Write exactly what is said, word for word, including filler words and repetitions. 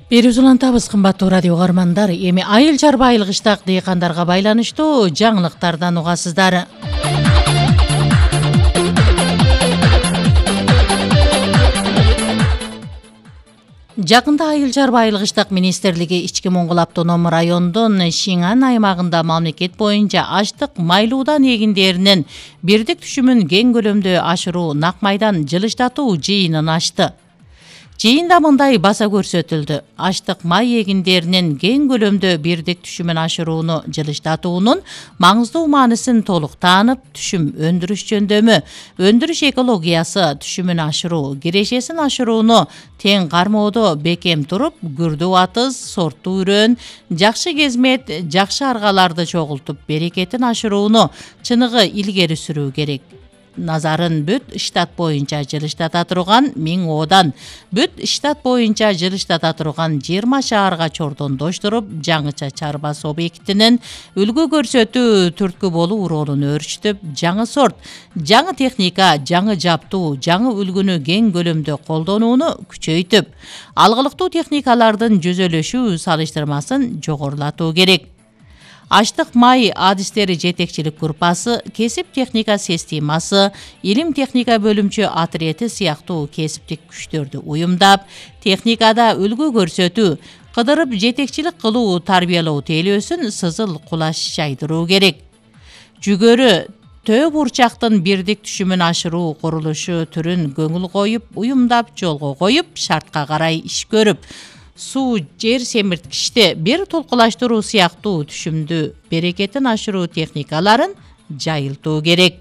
Берүүбүз улантабыз, кымбаттуу радио угармандар. Эми айыл чарба айылгычтак дыйкандарга байланыштуу жаңылыктардан угасыздар. Жакында айыл чарба айылгычтак министрлиги Ички Моңгол автоном районунун Шиңан аймагында мамлекет боюнча аштык майлуудан эгиндеринин бирдик түшүмүн кең көлөмдө ашыруу нак майдан жылыштатуу жыйынын ачты. Жыйында мындай баса көрсөтүлдү. Аштык май эгиндеринин кең көлөмдө бирдик түшүмүн ашырууну жылыштатуунун маңыздуу мааниsin толук таанып, түшүм өндүрүш жөндөмү, өндүрүш экологиясы, түшүмүн ашыруу, кирешесин ашырууну тең кармоодо бекем туруп, күрдүү атыз, сорттуу үрөн, жакшы кезмет, жакшы аргаларды чогултуп, берекетин ашырууну чыныгы илгери сүрүү керек. Назарын бүт штат боюнча жылыштата турган миң оодан, бүт штат боюнча жылыштата турган жыйырма шаарга чордондоштуруп, жаңыча чарбасы объектинин үлгү көрсөтүү түрткү болуу ролун өөрчүтүп, жаңы сорт, жаңы техника, жаңы жаптуу, жаңы үлгүнү кең көлөмдө колдонууну күчөйтүп, алгылыктуу техникалардын жүзөлөшүү салыштырмасын жогорулатуу керек. Аштык май адистери жетекчилик группасы, кесип техника системасы, илим техника бөлүмчө отрети сыяктуу кесиптик күчтөрдү уюмдап, техникада үлгү көрсөтүү, кыдырып жетекчилик кылуу, тарбиялоо тейлөөсүн сызыл кулаш жайдыруу керек. Жүгөрү төө бурчактын бирдик түшүмүн ашыруу курулушу түрүн көңүл коюп, уюмдап, жолго коюп, шартка карай иш көрүп, суу, жер семирткичти бир толкулаштыруу сыяктуу түшүмдү берекетин ашыруу техникаларын жайылтуу керек.